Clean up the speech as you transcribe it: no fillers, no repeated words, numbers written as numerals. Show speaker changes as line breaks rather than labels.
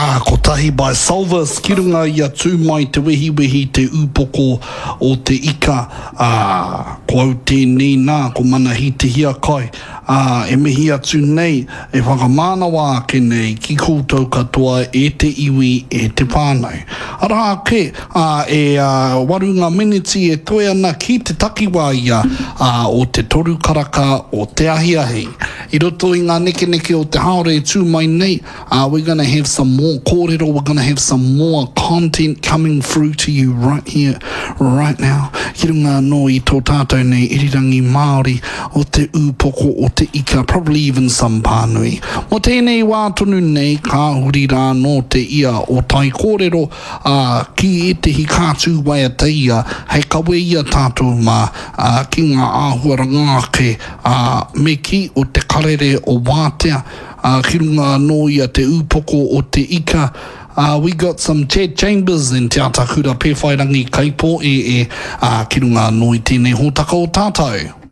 Ā, kotahi by Solvis ki runga i a Tū Mai Te Wehiwehi te ūpoko o te ika, ā, ko au tēnei nā, ko Manahi Te Hiakai, ā, e mihi atu nei, e whakamānawa ake nei ki koutou katoa e te iwi, e te whānau. Arā ake, ā, e waru ngā meneti e toe ana ki te takiwā ia, ā, o te toru karaka o te ahiahi. I roto i ngā nekeneke o te haora e tū mai nei, Uh, we're gonna have some more kōrero, we're gonna have some more content coming through to you right here, right now. Ki runga anō i tō tātou nei irirangi Māori o te ūpoko o te ika, probably even some pānui. Mō tēnei wā tonu nei, ka huri rā anō te ia o tai kōrero, ā, ki ētehi kātū waiata ia hei kawe i a tātou mā, ā, ki ngā āhuaranga ake, ā, me kī o te karere o Wātea, Ā, ki runga anō ia te ūpoko o te ika, ā, we got some Chad Chambers and Te Atakura Pēwhairangi Kaipō-e-e, ā, ki runga anō i tēnei hōtaka o tātou.